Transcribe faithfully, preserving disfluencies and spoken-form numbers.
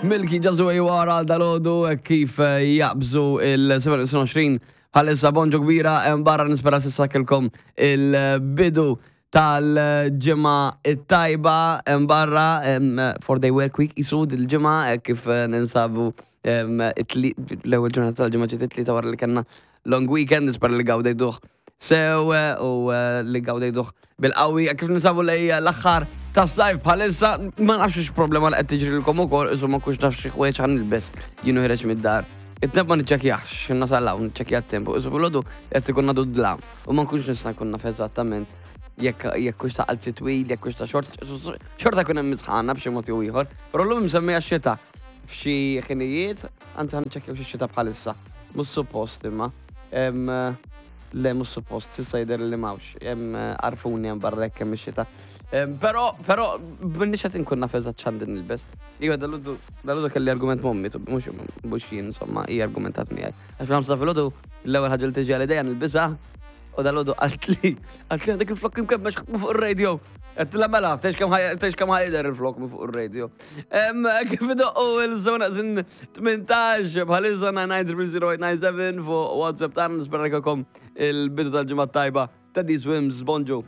Milky Just the Way You Are għal dalgħodu kif eh, jaqbżu il-sebgħa u għoxrin bħalissa. Bonġu kbira hemm barra, nispera s'issa kellkom il-bidu tal-ġimgħa it-tajba hemm barra, four day work week jisu il-ġimgħa eh, kif eh, ninsabu em, it-tli- l-ewwel ġurnata tal-ġimgħa ġiet it-Tlieta wara li kellna long weekend. Nispera li gawdejtuh sew eh, u eh, li gawdejtuh bil-qawwi kif ninsabu lej l-aħħar tas-sajf bħalissa. Ma nafx x'problema li qed tiġrilkom ukoll, isu ma nkunx naf xi ħwejjeġ ħa nilbes jien u ħiereġ mid-dar. It-temp ma niċċekkjax, x'ħin nasal hawn niċċekkja t-temp, isu filgħodu qed ikun għadu dlam u ma nkunx nista' nkun naf eżattament jekk jekk hux ta' qalzi twil, jekk hux ta' short, xorta jkun hemm isħana b'xi mod jew ieħor, però llum msemmija xita f'xi ħinijiet, anzi ħa niċċekkjaw xi xita bħalissa. Mhux suppost imma. Em, Le, mhux suppost, s'issa jidher li m'hawnx. Hemm għarrfuni hemm barra jekk hemm ix-xita. Em, Però, però, m'inix qed inkun naf eżatt x'għandi nilbes. Iva, dalgħodu, dalgħodu kelli argument m'ommi, tu- mhux mhux jien, insomma, hija argumentat miegħi. Għax fil-ħamsa filgħodu, l-ewwel ħaġa li tiġi għal idejja nilbisha, u dalgħodu qaltli, qaltli għandek il-flok imkemmex ħatmu fuq ir-radio. Għedtilha mela, tgħidx kemm ħaj- tgħidx kemm ħa jidher il-flok minn fuq ir-radio. Em, Kif idoqqu il-żewġ neqsin tmintax bħalissa, tnejn tnejn tnejn żero tmienja tnejn seba fuq WhatsApp tagħna, nispera kellkom il-bidu tal-ġimgħa tajba. Teddy Swims, bonġu.